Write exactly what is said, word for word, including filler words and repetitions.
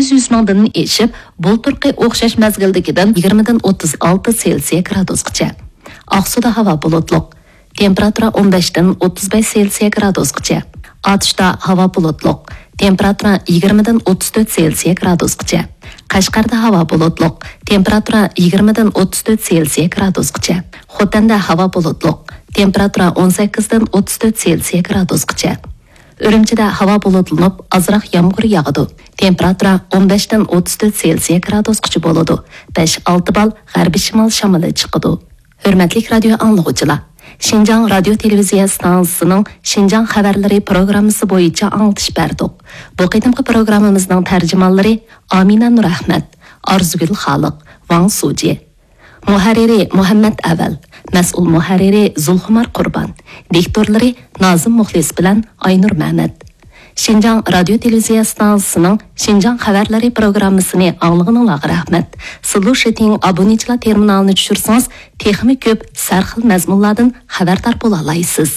يۈز مىڭدىن ئېشىپ، بۇلتۇرقى ئوخشاش مەزگىلدىكىدىن يىگىرمىدىن ئوتتۇز ئالتە سېلسىيە گرادۇسقىچە. ئاقسۇدا ھاۋا بۇلۇتلۇق. تېمپېراتۇرا ئون بەشتىن ئوتتۇز بەش سېلسىيە گرادۇسقىچە. ئاتۇشتا ھاۋا بۇلۇتلۇق. تېمپېراتۇرا يىگىرمىدىن ئوتتۇز تۆت سېلسىيە گرادۇسقىچە. قەشقەردە ھاۋا بۇلۇتلۇق. تېمپېراتۇرا يىگىرمىدىن ئوتتۇز تۆت سېلسىيە گرادۇسقىچە. خوتەندە ھاۋا بۇلۇتلۇق. تېمپېراتۇرا ئون سەككىزدىن ئوتتۇز تۆت سېلسىيە گرادۇسقىچە. ئۈرۈمچىدە ھاۋا بۇلۇتلىنىپ، ئازراق يامغۇر ياغىدۇ. تېمپېراتۇرا ئون بەشتىن ئوتتۇز تۆت سېلسىيە گرادۇسقىچە بولىدۇ. بەش ئالتە بال غەربىي شىمال شامىلى چىقىدۇ. ھۆرمەتلىك رادىيو ئاڭلىغۇچىلار! شىنجاڭ رادىيو تېلېۋىزىيە ئىستانسىسىنىڭ شىنجاڭ خەۋەرلىرى پروگراممىسى بويىچە ئاڭلىتىش بەردۇق. بۇ قېتىمقى پروگراممىمىزنىڭ تەرجىمانلىرى ئامىنە نۇرئەخمەت، ئارزۇگۈل خالىق، ۋاڭ سۇجى. مۇھەررىرى مۇھەممەت ئەۋەل، مەسئۇل مۇھەررىرى زۇلخۇمار قۇربان، دىكتورلىرى نازىم مۇخلىس بىلەن ئاينۇر مەمەت. شىنجاڭ رادىيو تېلېۋىزىيە ئىستانسىسىنىڭ شىنجاڭ خەۋەرلىرى پروگراممىسىنى ئاڭلىغىنىڭلارغا رەھمەت. سىلۇشىتىڭ ئابۇنىچىلار تېرمىنالىنى چۈشۈرسىڭىز، تېخىمۇ كۆپ سەرخىل مەزمۇنلاردىن خەۋەردار بولالايسىز.